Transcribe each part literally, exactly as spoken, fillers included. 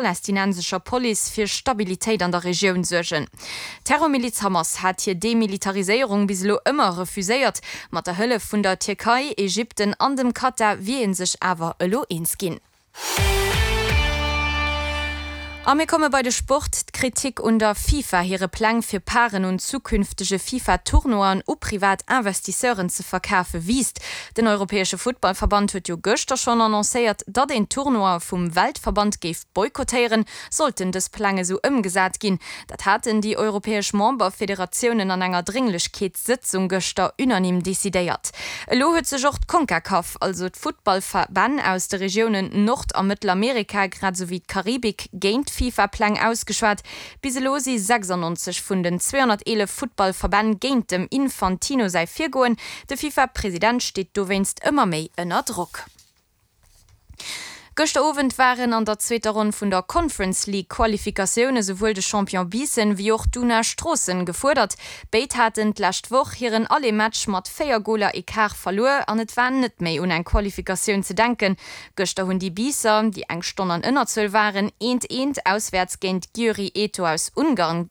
Palästinensescher Police fir Stabilitéit an der Regioun suergen. D'Terrormiliz Hamas hat hir Demilitariséierung bis elo ëmmer refuséiert. Mat der Hëllef vun der Tierkei, Ägypten an dem Katar wier ee sech awer elo eens ginn. A mir komme bei de Sport. D'Kritik un der FIFA hire Pläng fir Parten un zukünftege FIFA-Tournoien u privat Investisseuren ze verkafe wiisst. Den europäesche Futtballverband huet jo gëschter schonn annoncéiert, datt een d'Tournoie vum Weltverband géif boykottéieren, sollten dës Pläng esou ëmgesat ginn. Dat haten déi europäesch Memberfederatiounen an enger Drénglechkeetssëtzung gëschter unanime decidéiert. Elo huet sech och d'Concacaf, also d'Futtballverbänn aus de Regiounen Nord a Mëttelamerika grad esou wéi d'Karibik, géint d'FIFA-Pläng ausgeschwat. Bis elo si sechsannonzeg vun den zweehonnerteelef Futtballverbänn géint dem Infantino säi Virgoen. De FIFA-President steet dowéinst ëmmer méi ënner Drock. Gëschter Owend waren an der zweeter Ronn vun der Conference League Qualifikatioun esouwuel de Champion Biissen wéi och d'Una Stroossen gefuerdert. Béid haten d'lescht Woch hiren Aller-Match mat véier Goler Ecart verluer an et war net méi un eng Qualifikatioun ze denken. Gëschter hunn déi Biisser, déi eng Stonn an Ënnerzuel waren, eent eent auswäerts géint Győri Eto aus Ungarn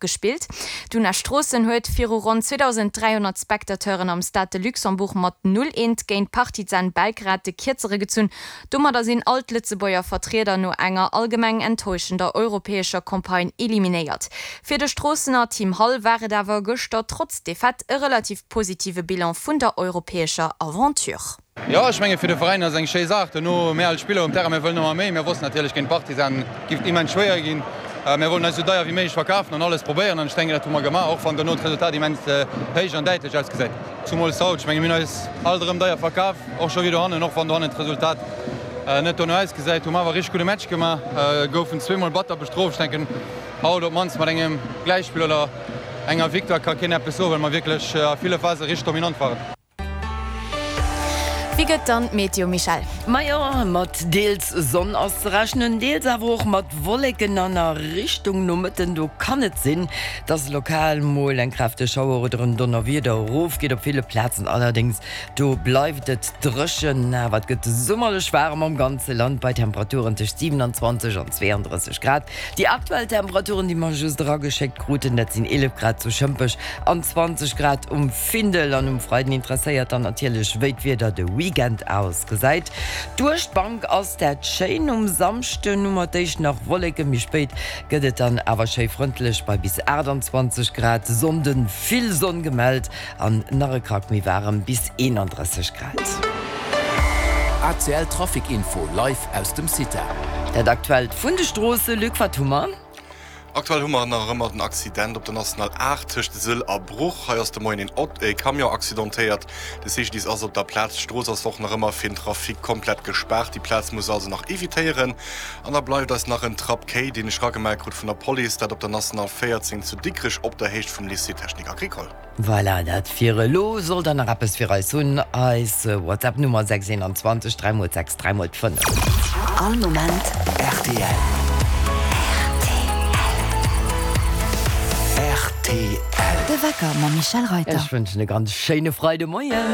gespillt. D'Una Stroossen huet viru ronn zweedausend dräihonnert Spectateuren am Stade de Luxembourg mat null eent géint Partizan Belgrad de Kierzere gezunn. Domadder sinn all d'Lëtzebuerger Vertrieder no enger allgemeng enttäuschender europäescher Campagne eliminéiert. Fir de Stroossener Tim Hall war et awer gëschter trotz Defaite e relativ positive Bilan vun der europäescher Aventure. Jo, ech menge fir de Veräin ass eng schéi Saach. Duerno mir als Spiller um Terrain, mir wëllen ëmmer méi. Mir wossten natierlech géint Partizan giff et immens schwéier ginn. Mir wollten eis esou deier wéi méiglech verkafen an alles probéieren an ech denken dat hu mer gemaach, och wann duerno d'Resultat immens héich an däitlech ausgesäit. Zumools haut, ech menge mir hunn eis alt erëm deier verkaf, och scho wéi dohannen, och wann dohannen d'Resultat net dono ausgesäit, hu mer awer e richteg gudde Match gemaach, goufen zweemol batter bestrooft. Ech denken haut op d'mannst mat engem Gläichspill oder enger Victoire ka keen eppes soen, well mer wierklech a ville Phase richteg dominant waren. Wéi gëtt dann d'Meteo, Michèle? Majo, mat deels Sonn ass ze rechnen, deels awer och mat Wolleken an a Richtung Nomëtten do kann et sinn, dass lokal mol eng kräfteg Schauer oder en Donnerwieder erofgeet. Op ville Plazen allerdéngs do bleift et dréchen, awer et gëtt summerlech waarem am ganze Land bei Temperaturen tëscht siewenundzwanzeg an zweeandrësseg Grad. Déi aktuell Temperaturen, déi mer just erageschéckt kruten, dat sinn eelef Grad zu Schëmpech an zwanzeg Grad um Findel. An um Freiden interesséiert dann natierlech, wéi d'Wieder de Weekend ausgesäit. Duerch d'Bank ass dat schéin. Um Samschden hu mer d'éischt nach Wolleken, méi spéit gëtt et dann awer schéi frëndlech bei bis aachtanzwanzeg Grad. Sonnden vill Sonn gemellt an nach e Krack méi waarem, bis eenandrësseg Grad. A C L Trafic Info live aus dem CITA. Dat aktuellt vun de Stroosse, Luc, wat hu mer? Aktuell hu mer nach ëmmer den Accident op der National aacht tëscht Sëll a Bruch. Hei ass de Moien een Auto, ee Camion accidentéiert. De C G D I S ass op der Plaz. D'Strooss ass och nach ëmmer fir den Trafic komplett gespaart. Déi Plaz muss also nach evitéieren. An da bleift eis nach en Trapp Kéi, deen ech ragemellt krut vun der Police, dat op der National véierzéng zu Dikrech op der Héicht vum Lycée Technique Agricole. Voilà, dat fir elo. Sollt der nach eppes fir eis hunn, eis WhatsApp Nummer sechs eenanzwanzeg dräi mol sechs dräi mol fënnef. All Moment R T L. R T L. De Wecker mam Michèle Reyter. Ech wënschen e ganz schéine Freidemoien.